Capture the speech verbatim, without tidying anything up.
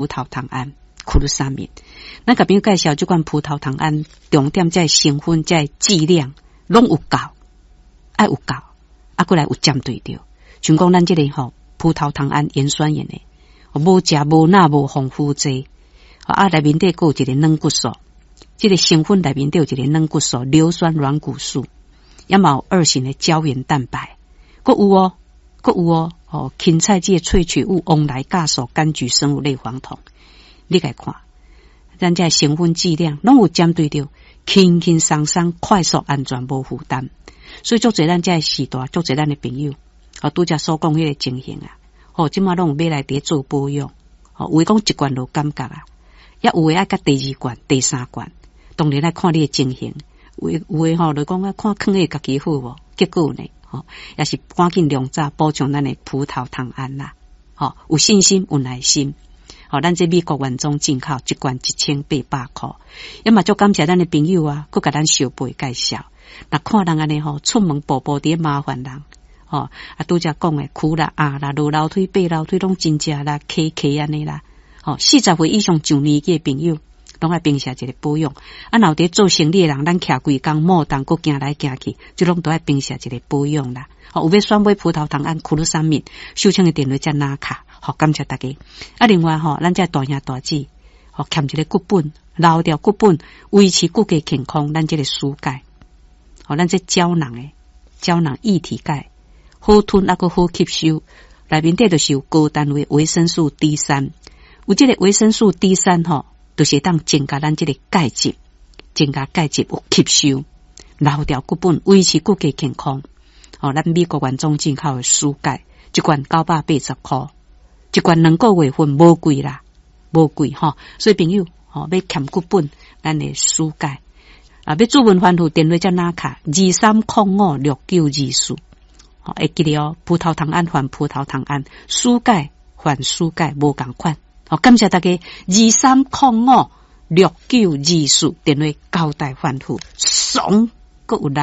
萄糖胺、glucosamine。咱共朋友介紹這款葡萄糖胺，重點這成分、這劑量攏有夠，愛有夠，啊，閣來有針對著。像講咱這个吼葡萄糖胺鹽酸鹽的，無食無鈉無防腐劑，啊，內面底閣有一个軟骨素，這个成分內面底有一个軟骨素，硫酸軟骨素，也嘛有二型的膠原蛋白，閣有哦，閣有哦，哦，芹菜這个萃取物、黃來酵素、柑橘生物類黃酮，你共看，咱這成分劑量攏有針對著，輕輕鬆鬆、快速、安全、無負擔，所以足濟咱這个時代，足濟咱的朋友，哦，拄才所講彼个情形啊，哦，這馬攏有買來佇咧做保養，哦，有的講一罐就感覺啊，也有的愛佮第二罐、第三罐，當然愛看你的情形，有的有的吼，就講啊，看囥佇家己好無？結果呢，吼，也是趕緊量早補充咱的葡萄糖胺啦，吼，有信心有耐心，吼，咱這美國原裝進口一罐一千八百箍，也嘛足感謝咱的朋友啊，閣共咱相背介紹，若看人按呢吼，出門步步佇咧麻煩人。吼，啊，拄才講的苦啦、壓啦、落樓梯、爬樓梯攏真正啦、磕磕按呢啦。吼，四十歲以上上年紀的朋友，攏愛平時一个保養。啊，若有佇做生理的人，咱徛規工莫動，閣行來行去，這攏都愛平時一个保養啦。吼，有欲選買葡萄糖胺、glucosamine，收錢的電話才拿卡。好，感謝大家。啊，另外吼，咱這大兄大姊，吼，欠一个骨本，留掉骨本，維持骨骼健康，咱這个舒鈣，吼，咱這膠囊的膠囊液體鈣。好吞抑閣好吸收，內面底就是有高單位維生素 D 三，有這个維生素 D 三吼，就是會當增加咱這个鈣質，增加鈣質有吸收，留掉骨本，維持骨骼健康。吼，咱美國原裝進口的舒鈣，一罐九百八十箍，一罐兩個月份無貴啦，無貴吼。所以朋友吼，欲添骨本，咱的舒鈣啊，欲諮問番號電話才拿卡二三空五六九二四。會記得哦，葡萄糖胺換葡萄糖胺，舒鈣換舒鈣，無仝款。好，感謝大家二三空五六九二四電話交代吩咐，爽閣有力。